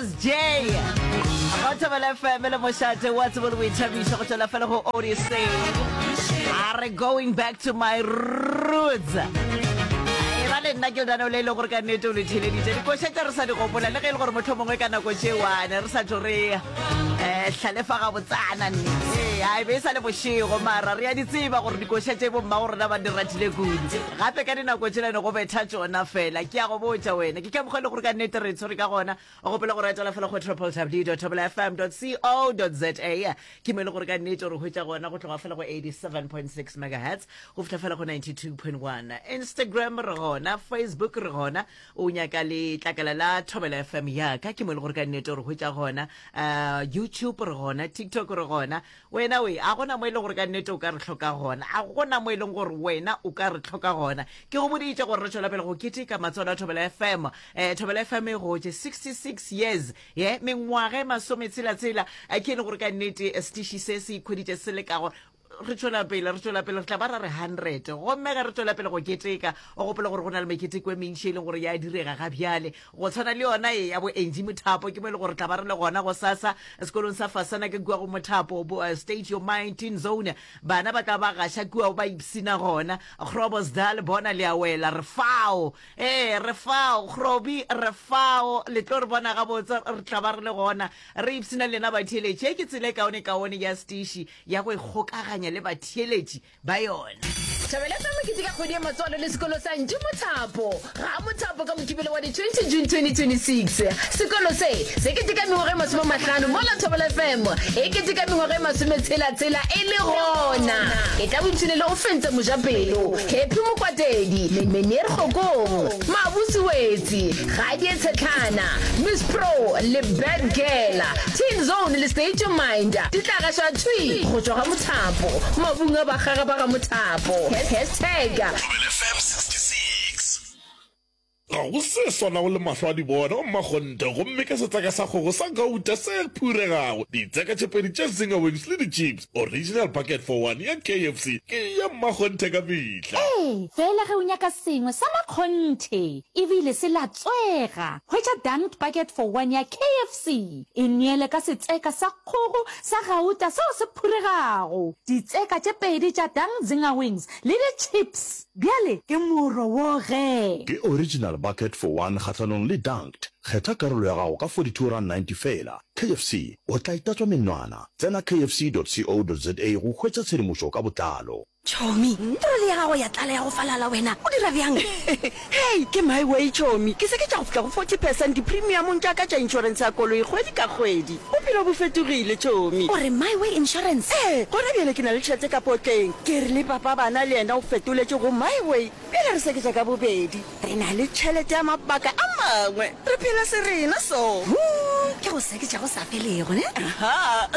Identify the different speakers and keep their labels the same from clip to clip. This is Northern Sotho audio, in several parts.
Speaker 1: SJ. Go Thobela FM le mošate wa tsebo le boithabišo go tšwela fela go Odyssey. A re going back to my roots. E ba le nna ke lenaneo le e leng gore ka nnete o le theleditše dikoša tše re sa di gopola le ge e le gore motlho mongwe ka nako tšewane re sa tšo re um hlalefa gabotsana nne ee a e be e sa le bošego mara re a di tseba gore dikoša tše bommago rena ba di ratile kudu gape ka dinako tšela ne go betha tšona fela ke a go botša wena ke ka mokgwa e le gore ka nnete re tshwere ka gona o gopole go retela fela go www fm co za ke mo e le gore ka nnete re hwetša gona go tloga fela go 87.6 megahertz go fihla fela go 92.1 instagram re gona facebook re gona O nyaka letlakala la Thobela FM ya ka, ke mo e le gore ka nnete re hwetša gona. Uh, YouTube re gona, TikTok re gona. Wena we, a gona mo e leng gore ka nnete o ka re hloka gona. A gona mo e leng gore wena o ka re hloka gona. Ke go boditše gore re tšwela pele go keteka matswalo a Thobela FM. Eh, Thobela FM e gotše 66 years, ye, mengwaga e masometshela-tshela. Eh, ke e le gore ka nnete setiši se se ikhweditše se le ka go Re tšwela pele, re tšwela pele, re tla ba ra re 100. Gomme ge re tšwela pele go keteka, o gopole gore go na le meketeko e mentši e leng gore ya direga ga bjale. Go tshwana le yona e ya bo Angie Mothapo, ke mo e le gore tla ba re le gona gosasa sekolong sa Fasana ke kua go Mothapo, bo, uh, State Your Mind Teen Zone. Bana ba tla ba gaša kua ba ipsina gona. Groblersdal bona le a wela, re fao. Ee, re fao, Grobi, re fao. Le tlo re bona gabotse, re tla ba re le gona. Re ipsina le lena batheeletši. Ye ke tsela e kaone-kaone ya setiši ya go ikgokaganya le batheeletši ba yona.
Speaker 2: Thobela FM e keteka kgwedi ya matswalo le sekolo sa Ntši Mothapo ga Mothapo ka Mokibelo wa di 20 June 2026. Sekolo se se keteka mengwaga e masomemahlano mola Thobela FM e keteka mengwaga e masometshela-tshela e le gona. E tla boipshine le Ofentse Mojapelo, Happy Mokwatedi, Meneer Kgokong, Mabusi Wetsi, Gadie Tshetlhana, Miss Pro le Bad Girl, Teen Zone le State Your Mind di tla gašwa thwi go tšwa ga Mothapo, mabung a bakgaga ba ga Mothapo. Hashtag.
Speaker 3: Thobela FM 66.
Speaker 4: Ga go se swanago le mahlo a di bona, o mmakgonthe, gomme ka setseka sa kgogo sa gauta se phuregago, ditseka tše pedi tša Zinger Wings le di-chips, original bucket for one ya KFC ke ya mmakgonthe ka mehla.
Speaker 5: Ee, fela ge o nyaka sengwe sa makgonthe e bile se latswega, hwetša Dunked Bucket for One ya KFC. E neele ka setseka sa kgogo sa gauta seo se phuregago, ditseka tše pedi tša Dunked Zinger Wings le di-chips. Bjale ke moro wo ge.
Speaker 6: Ke Original Bucket for One kgahlanong le Dunked. Kgetha karolo ya gago ka R42.90 feela. KFC, o tla e tatswa menwana. Tsena kfc.co.za go hwetša tshedimošo ka botlalo.
Speaker 7: Chomi, troli ya gago ya tlala ya go falala wena, o dira bjang?
Speaker 8: Hei, ke my way chomi, ke se ke tša go fihla go 40 percent dipremiamong tša ka tša inšorense ya koloi kgwedi ka kgwedi. Bophelo bo fetogile chomi.
Speaker 7: O re My Way Insurance?
Speaker 8: Ee, gona bjale ke na le tšhelete ka potleng. Ke re le papa bana le yena o fetoletše go My Way. Bjale re seketša ka bobedi. Re na le tšhelete ya mabaka a mangwe. Re phela se rena so.
Speaker 7: Huu, ke go seketša go sa felego, ne?
Speaker 8: Aha.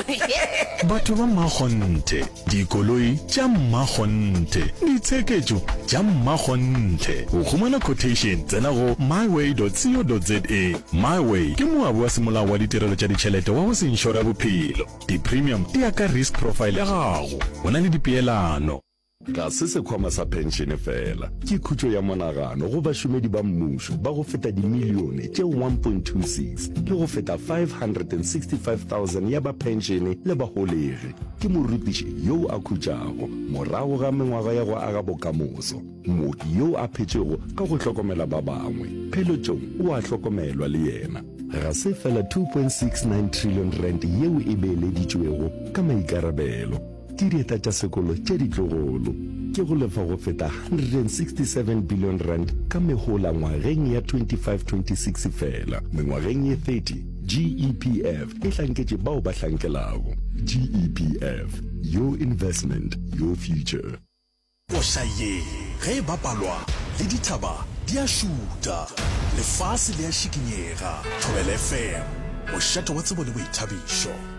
Speaker 9: Batho ba mmakgonthe, dikoloi tša mmakgonthe, ditsheketšo tša mmakgonthe. Go humana quotation, tsena go myway.co.za. MyWay ke moabi wa semolao wa ditirelo tša ditšhelete wa go se inšore bophelo. Di-premium di ya ka risk profile ya gago. Go na le dipeelano.
Speaker 10: Ga se sekhwama sa phenšene feela, ke khutšo ya monagano go bašomedi ba mmušo ba go feta dimilione tše 1.26 le go feta 565,000 ya ba phenšene le baholegi. Ke morutiši yo a khutšago morago ga mengwaga ya go aga bokamoso, mooki yo a phetšego ka go hlokomela ba bangwe. Pheletšong o a hlokomelwa le yena. Ga se feela R2.69 trillion yeo e beeleditšwego ka maikarabelo. Ke dieta tša sekolo tše ditlogolo. Ke go lefa go feta R167 billion ka mehola ngwageng ya 25-26 feela. Mengwageng ye 30, GEPF e hlanketše bao ba hlankelago. GEPF, your investment, your future.
Speaker 3: Koša ye ge e bapalwa le dithaba di a šutha, lefase le a šikinyega. Thobela FM, mošate wa tsebo le boithabišo.